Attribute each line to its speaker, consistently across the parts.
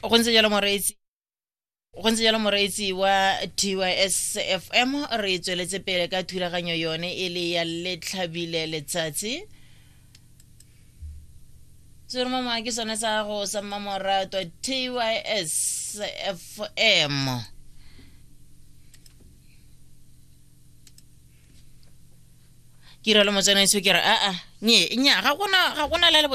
Speaker 1: Go ntse jalo moreetsi, go ntse jalo moreetsi wa TYS FM, re tsweletse pele ka thulaganyo yone e le ya Letlhabile Letsatsi. Seromama ke sone sa gago sa mmamoratwa TYS FM. Ke iralo motsanaiso, ke re aa nye nya ga gona la le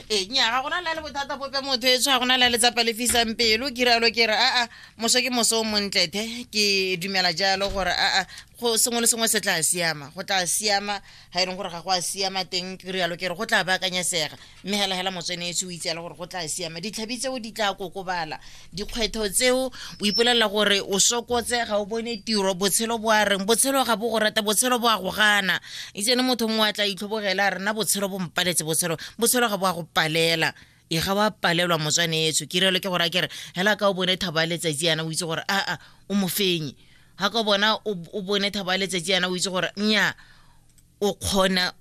Speaker 1: ee nya ga gona la le bothata bope motho e tshwa, gona la letsapa le fisang pelo. Ke rialo ke re aa moso ke moso o montle the. Ke dumela jalo gore aa go sengwe le sengwe se tla siama, go tla siama. Ga e leng gore ga go a siama teng, ke rialo ke re go tla baakanyesega, mme hela hela motswanetsi o itse gore go tla siama. Ditlhabi tseo di tla kokobala, dikgwetlho tseo o ipolelela gore o sokotse, ga o bone tiro, botshelo bo a reng, botshelo ga bo go rata, botshelo bo a go gana. Itsene motho mongwe a tla itlhobogela a rena botshelo bo mpaletse. Botshelo ga bo a go palela, e ga wa palelwa motswanetso. Ke rialo ke gore a kere hela ka o bone thabo ya letsatsi yana, o itse gore aa o mofenyi. Ga ka bona o bone thabo ya letsatsi yana, o itse gore nya o kgona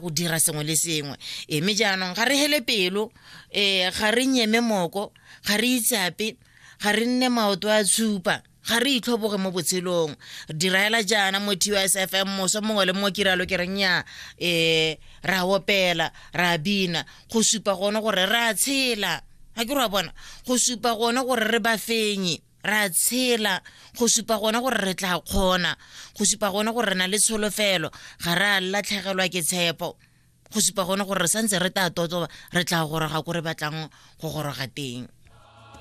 Speaker 1: go dira sengwe le sengwe. E mme jaanong ga re hele pelo, ga re nyeme moko, ga re itsape, ga re nne maoto a tshupa, ga re itlhoboge mo botshelong. Diraela jaana mo TSFM moso mongwe le mongwe, ke rialo ke re nya ra opela, ra bina go supa gone gore re a tshela. Ga ke re wa bona, go supa gone gore re bafenyi, ra tshela, go supa gone gore re tla kgona, go supa gone gore re na le tsholofelo, ga re a latlhegelwa ke tshepo, go supa gone gore re santse re tla totoba, re tla goroga ko re batlang go goroga teng.